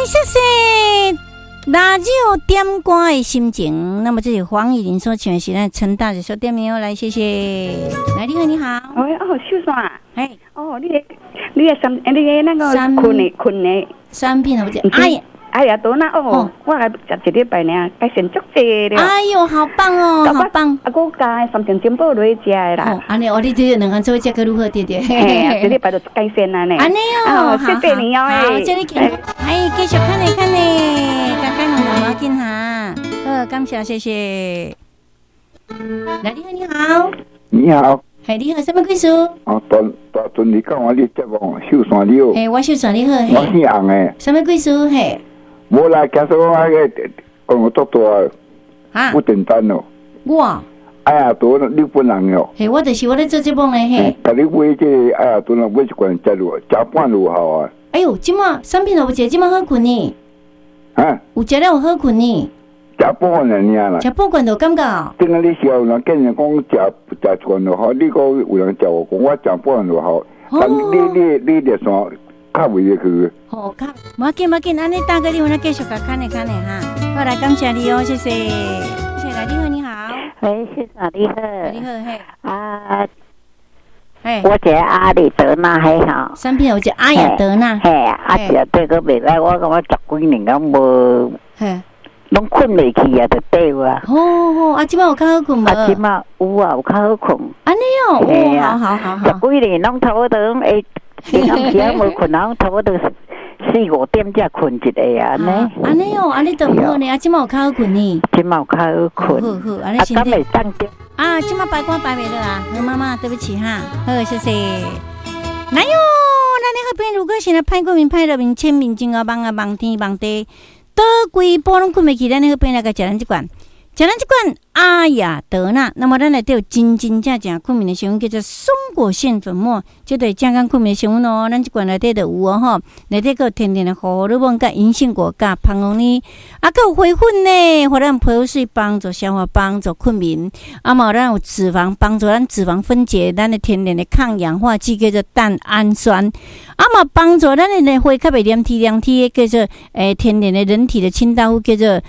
謝謝。拉酒點歌的心情，那麼這是黃以玲所唱的是咱陳大姐所點名來，謝謝。來，你好，你好。喂，哦，秀山。嘿。哦，你的三，你的那個睏的睏的。產品好不？哎呀，哎呀，多那哦，我來食一禮拜爾，改善足濟了。哎喲，好棒哦，好棒！啊，我加三成珍寶落去食的啦。按呢，哦，你這兩項做伙食閣愈好，對對。嘿，一禮拜就改善了呢。按呢哦，謝謝你哦，好，這裡哎，繼續看呢，看呢，加加兩無要緊哈。好，感謝，謝謝。來，你好，你好。你好。嘿，你好，啥物貴姓？哦，大大陣你講我你節目秀山你好。嘿，我秀山你好。我姓洪的。啥物貴姓？嘿。無啦，假使我那個講我足大，不簡單哦。我。愛亞多，你本人哦。嘿，我就是我咧做節目咧，嘿。共你買這個愛亞多，買一罐食落，食半就好啊。哎喲，這馬產品有食，這馬好睏呢。啊？有食了有好睏呢。食半罐爾啦。食半罐就感覺。頂下你時候有人見人講食食一罐就好，你講有人食我講我食半罐就好。但你熱線較袂入去。好，較無要緊無要緊，按呢大哥你有哪繼續共看咧看咧哈。好，來感謝你哦，謝謝。謝謝，來，你好，你好。喂，先生你好。你好，嘿。啊。嘿。我一個阿里德納嘿吼。產品有一個阿雅德納。嘿，啊，食對閣袂歹，我感覺十幾年攏無。嘿。攏睏袂去啊，就對啊。好好，啊，這擺有較好睏無？啊，這擺有啊，有較好睏。按呢哦，哦，好好好好。十幾年攏差不多會，下暗時無睏，啊，差不多四五點才睏一下啊，按呢。按呢哦，按呢就毋好呢，啊，這擺有較好睏呢。這擺有較好睏。好好，按呢啊，敢會當著？啊，這擺排骨排袂落啊，何媽媽，對不起哈，好，謝謝。來喲，咱的好朋友，如果是來歹過面、歹落面、清明真後夢啊夢天夢地。倒規晡攏睏袂去，咱的好朋友來共食咱這罐，食咱這罐阿雅德納。那麼咱內底有真真正正睏眠的成分，叫做松果腺粉末，這就是正講睏眠的成分哦。咱這罐內底就有哦吼，內底閣有天然的荷爾蒙、佮銀杏果、佮蜂王乳，啊，閣有花粉呢，予咱皮膚水幫助消化、幫助睏眠。啊，嘛有咱有脂肪幫助咱脂肪分解，咱的天然的抗氧化劑叫做蛋氨酸。啊嘛幫助咱的血較袂黏貼黏貼的，叫做天然的人體的清道夫，叫做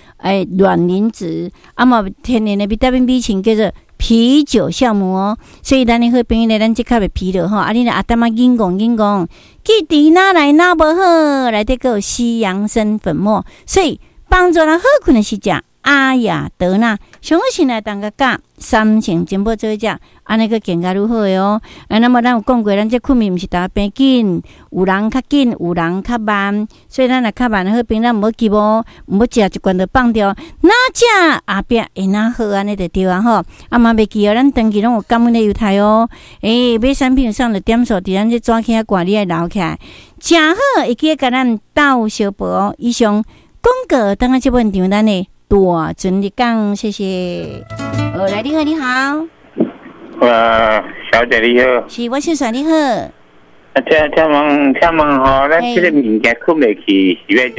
卵磷脂。啊嘛天然的維他命 B 群叫做啤酒酵母哦。所以咱的好朋友呢，咱這較袂疲勞吼。啊，你若阿淡仔緊戇緊戇，記得哪來哪無好，內底閣有西洋參粉末，所以幫助咱好睏的是食阿雅德納。上好是來當個佮三成珍寶做伙食，按呢閣更加愈好的哦。啊，那麼咱有講過，咱這睏眠毋是焦平緊，有人較緊，有人較慢，所以咱若較慢的好朋友，咱毋好急哦，毋好食一罐就放掉，哪食後壁會哪好按呢就對啊吼。啊嘛袂記哦，咱長期攏有感恩的猶太哦。買產品上的點數，佇咱這紙仔掛，你愛留起來，誠好，會記得共咱鬥相報哦。以上廣告，等下這本場咱的大陣日講，謝謝。哦，來，你好，你好。小姐你好。是，我姓孙，你好。啊，請問吼，咱這個物件睏袂去是欲食？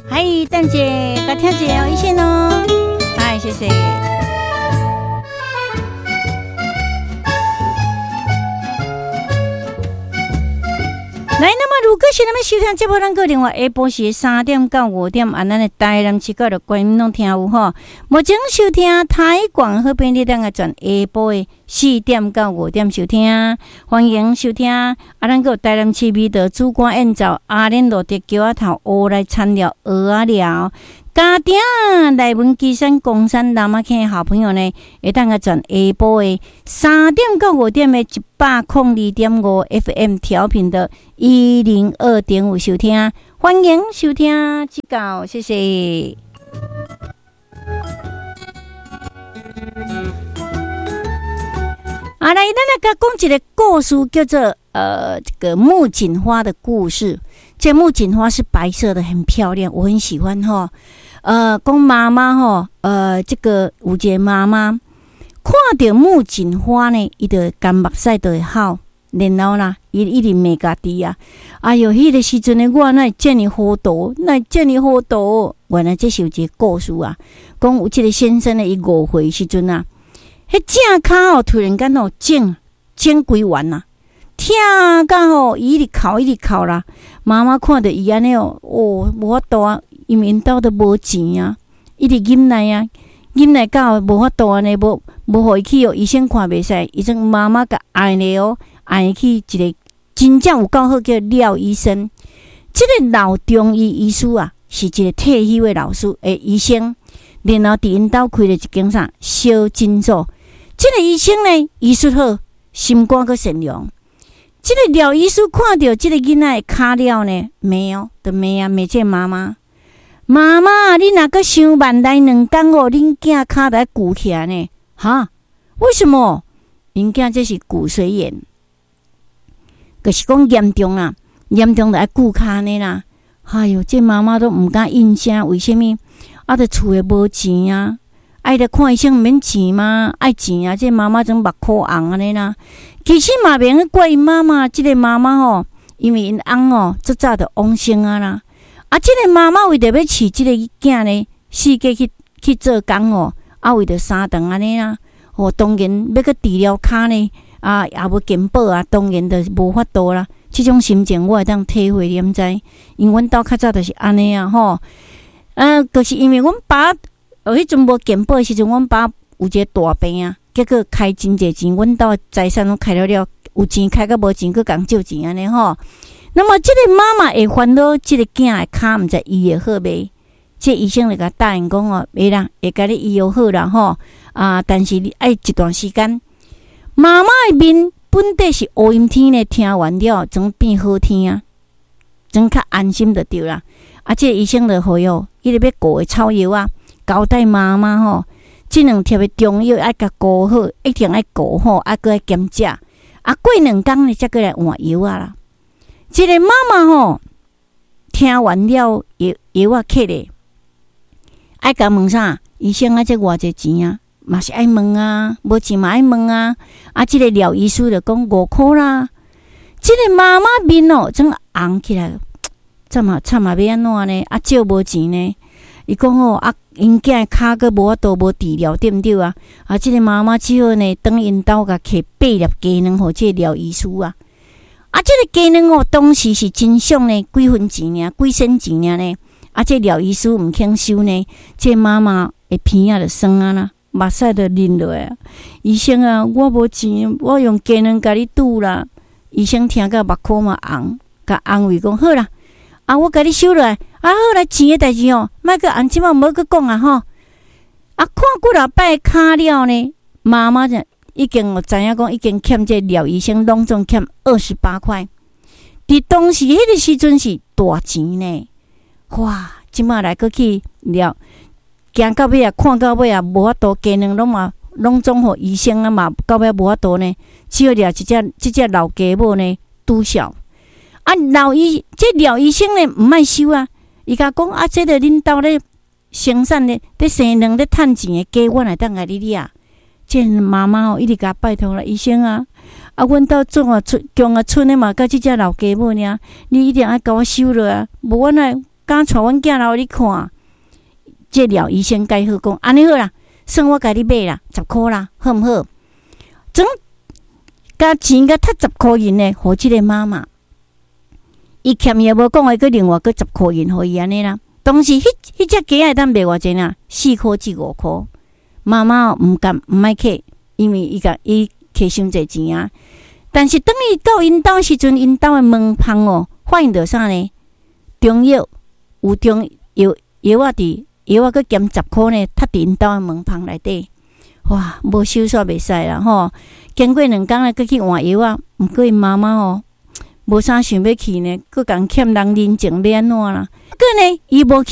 嗨，等者，共聽一下哦，醫生哦。嗨，謝謝。來，那麼如果是咱欲收聽節目，咱閣另外下晡時3點到5點，按咱的台南市個觀音攏聽有吼。目前收聽台廣好朋友，當個轉下晡的4點到5點收聽，歡迎收聽。啊，咱閣有台南市味道主管宴造阿蓮路的橋仔頭烏來餐料蚵仔料。家庭內文基山岡山南仔坑的好朋友呢，會當個轉下晡的3點到5點的102.5 FM 調頻的102.5收聽，歡迎收聽，指教，謝謝。啊，來，咱來共講一個故事，叫做這個木槿花的故事。這木槿花是白色的，很漂亮，我很喜歡哈。講媽媽哈，這個有一個媽媽看著木槿花呢，伊就乾目屎就會哭，然後啦，伊一直罵家己啊。哎喲，彼個時陣呢，我哪會這爾糊塗，哪會這爾糊塗？原來這是有一個故事啊。講有這個先生呢，伊5歲時陣啊，彼正跤哦，突然間哦，整整規圓啊。疼甲吼，伊一直哭，一直哭啦。媽媽看著伊按呢哦，哦，無法度啊，因為𪜶兜都無錢啊，一直忍耐啊，忍耐到無法度按呢，無予伊去予醫生看袂使，醫生媽媽共愛咧哦，愛伊去一個真正有夠好叫廖醫生。這個老中醫醫師啊，是一個退休的老師的醫生，然後佇𪜶兜開了一間啥小診所。這個醫生呢，醫術好，心肝閣善良。這個廖醫師看著這個囡仔的跤了呢，罵哦，就罵啊罵這個媽媽。媽媽，你若閣傷慢來2工哦，恁囝跤就愛舊起來呢？哈？為什麼？𪜶囝這是骨髓炎，就是講嚴重啦，嚴重就愛舊跤呢啦。哎喲，這媽媽都毋敢應聲，為啥物？啊，著厝的無錢啊，愛來看醫生毋免錢嗎？愛錢啊！這媽媽怎目箍紅按呢啦？其實嘛袂用怪𪜶媽媽，這個媽媽吼，因為𪜶翁吼足早就往生啊啦。啊，這個媽媽為著欲飼這個囝呢，四界去做工吼，啊，為著三頓按呢啦，吼，當然欲閣治療跤呢，啊，也無健保啊，當然就無法度啦。這種心情我會當體會，你毋知？因為阮兜較早就是按呢啊，吼。啊，就是因為阮爸，彼陣無健保的時陣，阮爸有一個大病啊，結果開真濟錢，阮兜財產攏開了了，有錢開甲無錢，閣共借錢按呢吼。那麼這個媽媽會煩惱，這個囝的跤毋知醫會好袂？這個醫生就共答應講哦，會啦，會共你醫好啦吼。啊，但是你愛一段時間。媽媽的面本底是烏陰天呢，聽完了總變好天啊，總較安心就對啦。啊，這個醫生就予伊哦，彼個欲顧的草藥啊，交代媽媽吼，這兩帖的中藥愛共顧好，一定愛顧好，啊，閣愛兼食。啊，過2工呢，才閣來換藥仔啦。這個媽媽吼，聽完了藥藥仔刻咧，愛共問啥？醫生啊，這偌濟錢啊？嘛是愛問啊，無錢嘛愛問啊。啊，這個廖醫師就講5箍啦。這個媽媽面哦，總紅起來，慘啊慘啊，欲按怎呢？啊，借無錢呢？伊講吼啊，𪜶囝的跤閣無法度無治療，對毋對啊？啊，這個媽媽只好呢，轉𪜶兜共摕八粒雞卵予這個廖醫師啊。啊，這個雞卵哦，當時是真俗呢，幾分錢爾，幾仙錢爾呢？啊，這個廖醫師毋肯收呢，這個媽媽的鼻仔就酸啊啦，目屎就淋落來啊。醫生啊，我無錢，我用雞卵共你賭啦。醫生聽甲目箍嘛紅，共安慰講好啦，啊，我共你收落來。啊，好來錢的代誌哦，莫閣按這擺毋好閣講啊吼。啊，看幾若擺跤了呢，媽媽就已經有知影講，已經欠這廖醫生攏總欠28塊。佇當時彼個時陣是大錢呢。哇！這擺來閣去了，行到尾啊，看到尾啊，無法度，雞卵攏嘛攏總予醫生啊嘛，到尾無法度呢，只好掠一隻這隻老雞母呢拄笑。啊，老醫這廖醫生呢毋愛收啊，伊共講啊，這個恁兜咧生產咧，咧生卵咧趁錢的雞，我會當共你掠。這媽媽哦，一直共拜託啦，醫生啊，啊，阮兜總啊出窮啊賰的嘛，佮這隻老雞母爾，你一定愛共我收落啊，無我哪會敢帶阮囝來予你看？這廖醫生改好講，按呢好啦，算我共你買啦，十箍啦，好毋好？總共錢共趁10箍銀呢，予這個媽媽。伊欠伊也無講話，閣另外閣十箍銀予伊按呢啦。當時彼彼隻雞仔會當賣偌濟呢？4箍至5箍。媽媽毋甘毋愛客，因為伊共伊摕傷濟錢啊。但是當伊到𪜶兜時陣，𪜶兜的門縫哦，發現著啥呢？中藥有中藥藥仔佇藥仔閣兼十箍呢，塞佇𪜶兜的門縫內底。哇，無收煞袂使啦吼！經過2工咧，閣去換藥仔，毋過𪜶媽媽哦，無啥想欲去呢，閣共欠人人情欲按怎啦？閣呢，伊無去。